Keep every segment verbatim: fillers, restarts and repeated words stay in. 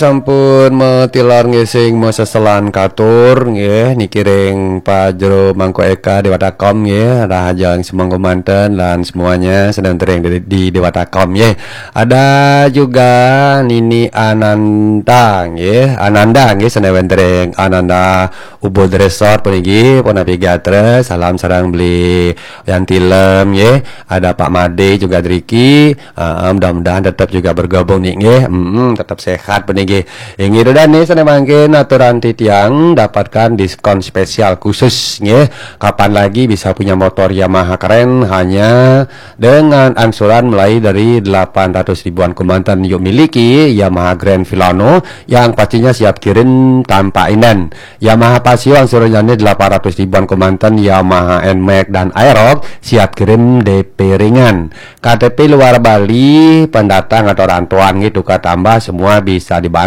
Sampun metilor nggih sing meseselan katur nggih niki ring Pajero Mangku Eka Dewata Kom nggih, rahajeng semangku manten lan semuanya sedang tering di, di Dewata Kom nggih. Ada juga Nini Ananda nggih, Ananda nggih sedang tering Ananda Ubud Resort puniki punapi gatra, salam sareng beli Yanti Lem nggih. Ada Pak Made juga driki. Ah, mudah-mudahan tetap juga bergabung nih nggih. Mm, tetap sehat puniki. Inggih dan nih sana mangkin aturan titiang dapatkan diskon spesial khusus nggih. Kapan lagi bisa punya motor Yamaha keren hanya dengan angsuran mulai dari delapan ratus ribuan kemanten yuk miliki Yamaha Grand Filano yang pastinya siap kirim tanpa inden. Yamaha Pasio angsurannya delapan ratus ribuan kemanten, Yamaha Nmax dan Aerox siap kirim D P ringan. K T P luar Bali, pendatang atau rantauan gitu, tukar tambah semua bisa dibantu.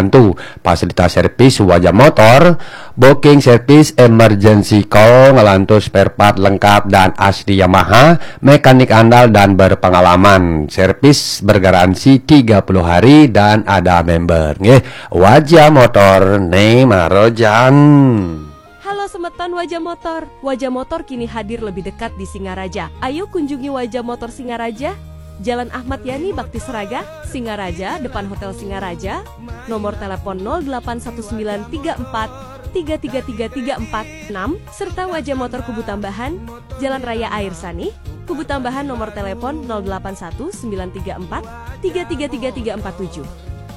Fasilitas servis wajah motor, booking service, emergency call, ngelantur spare part lengkap dan asli Yamaha, mekanik andal dan berpengalaman. Servis bergaransi tiga puluh hari dan ada member. Nggih, wajah motor ne marojan. Halo semeton Wajah Motor. Wajah Motor kini hadir lebih dekat di Singaraja. Ayo kunjungi Wajah Motor Singaraja, Jalan Ahmad Yani Bakti Seraga, Singaraja, depan Hotel Singaraja. Nomor telepon nol delapan satu sembilan tiga empat tiga tiga tiga tiga empat enam serta Wajah Motor Kubu Tambahan, Jalan Raya Air Sani, Kubu Tambahan, nomor telepon nol delapan satu sembilan tiga empat tiga tiga tiga tiga empat tujuh.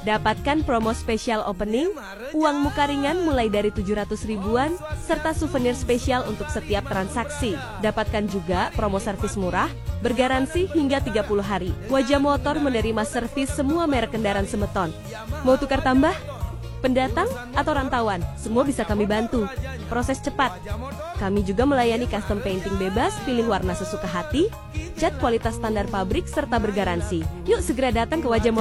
Dapatkan promo spesial opening, uang muka ringan mulai dari tujuh ratus ribuan, serta souvenir spesial untuk setiap transaksi. Dapatkan juga promo servis murah, bergaransi hingga tiga puluh hari. Wajah Motor menerima servis semua merek kendaraan semeton. Mau tukar tambah? Pendatang atau rantauan, semua bisa kami bantu. Proses cepat. Kami juga melayani custom painting bebas, pilih warna sesuka hati, cat kualitas standar pabrik, serta bergaransi. Yuk segera datang ke Wajah